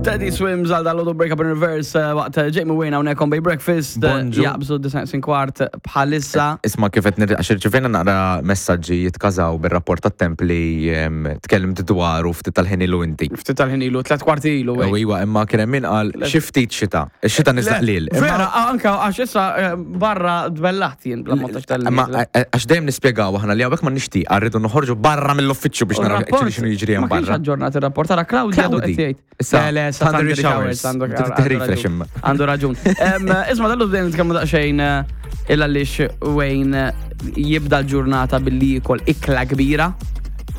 Teddy Swims għal dal Break Up in Reverse eh, waqt eh, Jamie Wayne hawnhekk on Bay Breakfast. Eh, Bonġu. Jaqbżu 9 kwart bħalissa. Isma kif qed għax irċivejna naqra messaġġi jitkażaw bir-rapport tat-temp li em, tkellimt dwaru ftit tal-ħin ilu inti. Ftit tal-ħin ilu, tlet kwarti ilu. U iwa, imma kien hemm min qal xi ftit xita. Ix-xita niżla qliel. Imma- Vera, anka għax issa eh, barra dbellaħt jien bla ma tax tal Imma għax dejjem nispjegaw aħna li hawnhekk ma nixtieq rridu noħorġu barra mill-uffiċċju biex naraw actually x'inhu jiġri hemm Ma kienx barra. aġġornat ir-rapport, ara Claudia għadu Claudi. qed jgħid. Issa, Le, le, issa thundery showers. għandu Trid tirrifresh raġun. imma. Għandu raġun. Em, Isma, dallu bdejna nitkellmu daqsxejn eh, illa għaliex Wayne eh, jibda l-ġurnata billi jikol ikla kbira.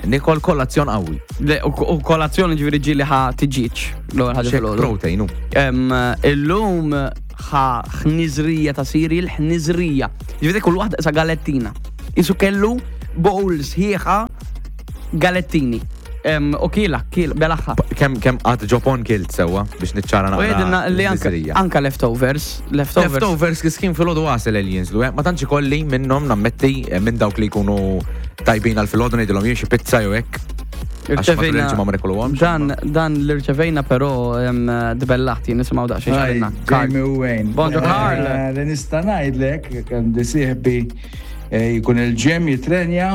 Nikol kolazzjon qawwi. Le, U u kolazzjoni ġifieri ġieli ħa tiġiġ l-ewwel ħaġa Xek filgħodu. protein hu. Em, Illum ħa ħniżrija ta' cereal, ħniżrija. Ġifieri kull waħda sa galettina. Isu kellu bowl sħiħa galettini. Em, U kiela, kiela, belaħħa. Kemm kemm qatt ġopon kilt sewwa biex niċċara U naqra. jedinna li anka, l-miżerija. anka leftovers, leftovers. Leftovers kiskin fil-ħodu għasel li jinżlu, eh? Ma tantx ikolli minnhom nammetti eh, minn dawk li jkunu tajbin għal fil-ħodu ngħidilhom jien xi pizza jew hekk. Għax matul il-ġimgħa ma nikoluhomx. Dan, dan li rċevejna però em, dbellaħt jien nisimgħu daqsxejn Hi, x'għalina. Karl. Jamie Wayne. Bonġu, Karl. Eh, Li nista' ngħidlek għandi sieħbi eh, jkun il-ġem jitrenja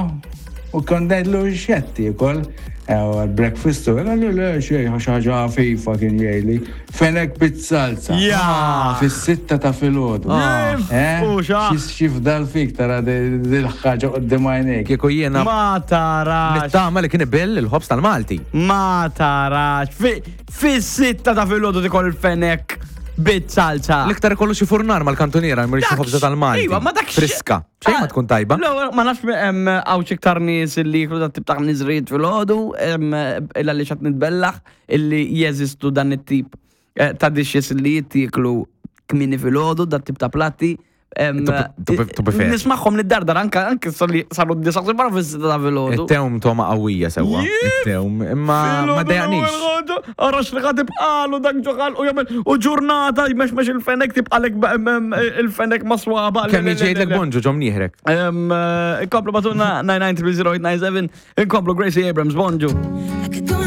u kont ngħidlu x'qed tiekol. Eh, u għal-breakfast u għallu le xejn xi ħaġa ħafifa kien jgħidli. Fenek bit-salsa. Ja! Fis-sitta ta' filgħodu. Ah. Eh, U xa. Xi fdal fik tara dil-ħaġa qudiem għajnejk. Kieku jiena Ma tarax. nittama li kien ibill il-ħobż tal-Malti. Ma tarax. Fis-sitta ta' filgħodu tikol fenek bit-salsa. L-iktar ikollu xi furnar mal-kantuniera jmur xi ħobża tal-Malti. Iva, ma dak Friska. Xejn ma tkun tajba. Le, ma nafx hemm hawn xi iktar nies li jiklu dat tip ta' ħniżriet filgħodu, illa li xat nitbellaħ illi jeżistu dan it-tip eh, ta' dishes li jittieklu kmini filgħodu, dat tip ta' platti. To be fair. Nismaħħom nid-dardar anka anke saru d-disa barra fis-sitta ta' filgħodu. It-tewm toma qawwija sewwa. It-tewm imma ma dejaqnix. Arax li ħad ibqalu dak ġoħal u jagħmel u ġurnata jmexmex il-fenek tibqalek il-fenek ma' swaba. Kemm jiġi jgħidlek bonġu ġom nieħrek. Inkomplu batuna 9930897, inkomplu Gracie Abrams, bonġu. I could go